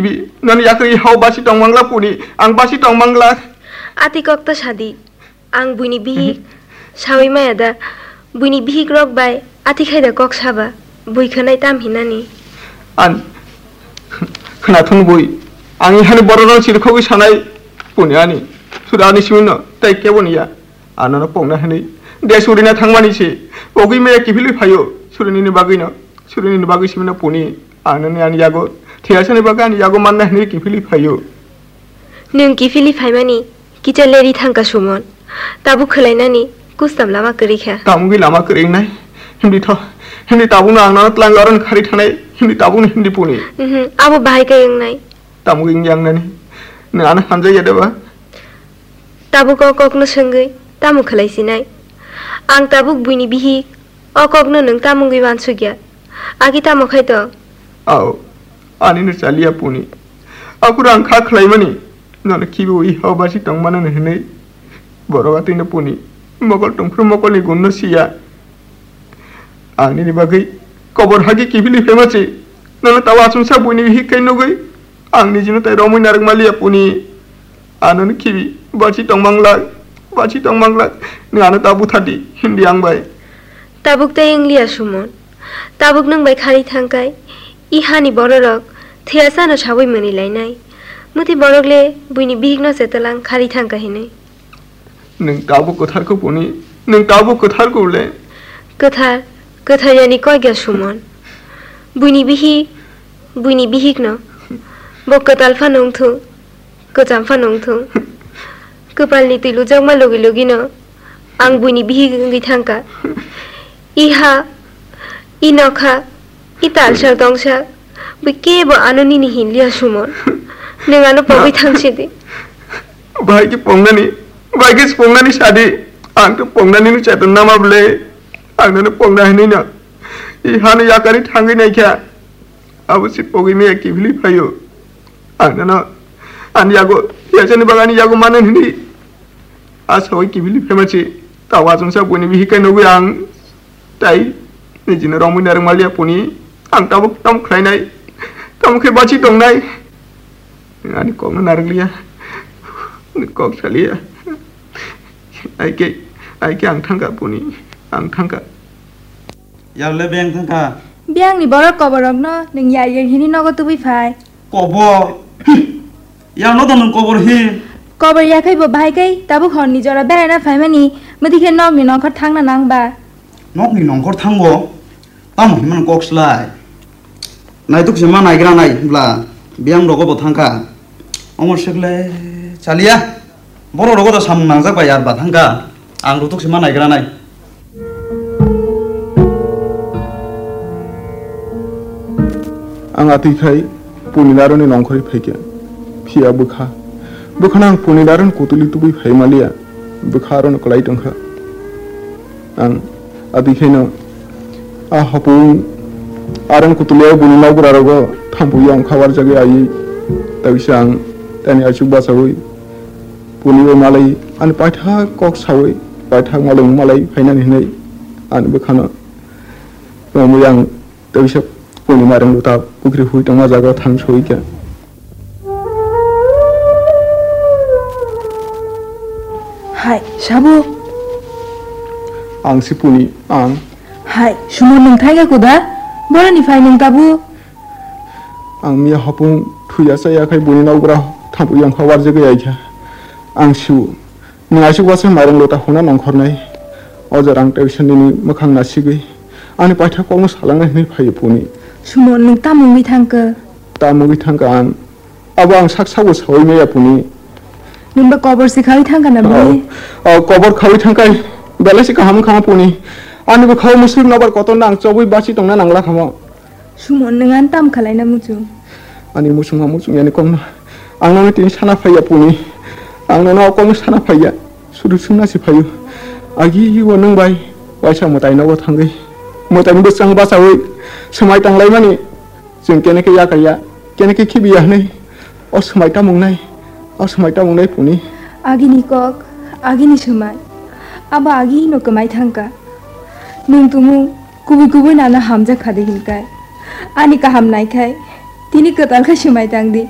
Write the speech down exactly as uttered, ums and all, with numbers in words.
Bi, nani yakarwi hao basi tong mangla puni, ang basi tong mangla. Ati kok ta sadi. Ang buini bihik sawi maya da. Buini bihik rok bai ati khai da kok saba. Bui khwnai tam hinani. An, khwnathung bui. Ang ihani borok rok chirikhogwi sanai puni ani. Sura ani simino tei kebo niya. Ano no pongna hinwi. De surina thangmani se. Pogwi maya kiphilwi phaio. Surinini bagwino. Surinini bagwi simino puni. Ang nini ani yago. Thiyasani bagwi ani yago manna hinwi kiphilwi phaio. Nwng kiphilwi phaimani kicha leri thangka Sumon. Tabuk khwlainani kustam lama kwrwi kha. Tamugwi lama kwrwi wngnai. Himdi tho. Himdi tabukno ang nono twlang oron khari thanai. Himdi tabukno himdi puni. Mhm, abo bahai khe wngnai. Tamugwi wngya wngnani. Nwng ano hamjakya de ba? Tabuk o kokno swngwi tamo khwlai sinai? Ang tabuk buini bihik, o kokno nwng tamo wngwi uansukya? Agi tamo khai tong? Ao, anino chaliya puni. Aphuru ang kha khwlaimani, nono khibiwi hao basi tongmano hinwi borok atwino puni. Mokol tongphuru mokolni gunno siya. Ang nini bagwi kobor hagi kiphilwi phaima se. Nono tao achomsa buini bihik khai nugwi ang nijino tai romwi narwk maliya puni. Ano no khibi basi tong manglak, basi tong manglak. Nwng ano ta buthardi, himdi ang bai. Tabuk tei wngliya Sumon. Tabuk nwng bai khari thangkai. I hani bororok thiyasano sawi mwnwi lainai. Muti borok le buini bihikno se twlang khari thangka hinwi. Nwng tabuk kwthar kho puni, nwng tabuk kwthar kho le. Kwthar, kwthar yani koi ga Sumon. Buini bihik, buini bihikno. Bo kwtal phano wngthung, kwcham phano wngthung. Kwpalni twi lujakma logi logino ang buini bihik wngwi thangka. I ha, i nokha, i talsal tongsa, bui kebo ano nini hinliya Sumon. Nwng ano pogwi thangsi di. Bahai khe pongnani, bahai khe pongnani sadi. Ang to pongnani no cheton nama bwle. Ang nono pongna hinwi no. I hano yakarwi thangwi naikha. Abo se pogwi maya kiphilwi phaio. Ang nono ani yago, yachani bagani yago manan hinwi. A sawi kiphilwi phaima se. Tawa chwngsa buini bihik kai nugwi ang. Tai, nijino romwi narwk maliya puni, ang tabuk tamo khlainai, tamo khe bachi tongnai. Ani kokno narwkliya, ani kok saliya. Ai khe, ai khe ang thangka puni, ang thangka. Yar le beng thangka. Biyangni borok koborokno nwng yar yar hini nogo tubui phai. Kobor. Yang no to nwng kobor hi? Kobor ya khai bo bahai kai, tabuk horni jora beraina phaimani, mudi khe nokni nongkhor thangna nang ba? Nokni nongkhor thango? Tamo hinmano kok slai. Naituk se ma naigra nai bla, biyang rogo bo thangkha. Omo sekle chaliya. Boro rogo to samung nangjak bai yar ba thangkha. Ang rutuk se ma naigra nai. Ang atwi khai Puni Naroni nongkhorwi phaikha. Phiya bwkha. Bwkhano ang Puni Naroni kutuli tubui phai maliya. Bwkha arono kwlai tongkha. Ang atwi khaino a hopung aron kutuli o buni nokbura rogo thampui yong khabar jagwi ayi. Tawisa ang tani achuk bachawi. Puni bai malai ani paithak kok sawi paithak malai malai phainani hinwi ani bwkhano romwi ang tei bisa puni mareng luta pukri hui tongma jaga thang soi khe. Hai, Sabu. Ang si Puni, ang. Hai, Sumo nwng thaiga kuda? Boroni phai nwng tabu? Ang miya hopung thuya chaya khai buni nokbura thampui yong kha warjagwi ai kha. Ang siu. Nwng aswk uaisa mairung lota huna nongkhornai. O jora ang tei bisa nini mwkhang nasigwi ani paithak kokno salangnai hwnwi phaiyo Puni. Sumo, nwng tamo wngwi thangkha? Tamo wngwi thangkha ang? Abo ang sak sakbo saui maya Puni. Nwngba kobor se khaui thangkha na bini? O, o, kobor khaui thangkhai belai se kaham wngkha Puni. Ani bwkhao musuk nobar kotorno ang chobwi bachi tongna nangla khamo. Sumon, nwng ano tamo khlaina muchung? Ani muchungma muchung yani kokno. Ang nono tini sana phaiya Puni. Ang nono o kokno sana phaiya. Sudu sungna si phaio. Agi o nwng bai waisa mwtai nogo thangwi. Mwtaini bwsang bachawi swmai tanglaimani. Chwng kene khe yakaiya, kene khe khibiya hwnwi. O swmai tamung nai. O swmai tamung nai Puni. Agini kok, agini swmai. Abo agino kwmai thangkha. Nwng tumung kubui kubui nana hamjak khadi hinkai. Ani kaham naikhai, tini kwtal khe swmai tangdi.